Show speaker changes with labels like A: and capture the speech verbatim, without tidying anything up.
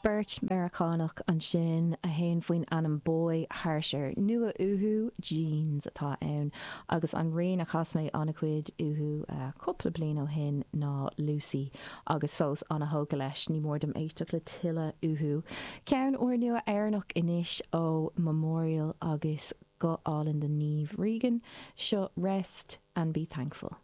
A: Beirt Meiriceánach ansin a théann faoin ainm Boy Harsher. Nua uathu Jeans atá ann agus an rian a chas mé an-chuid uathu uh, cúpla bliain ó shin ná Lucy agus fós an-tógtha leis ní mór dom éisteacht le tuilleadh uathu. Ceann úrnua Éireannach anois ó Memorial agus go álainn de Niamh Regan seo rest and be thankful.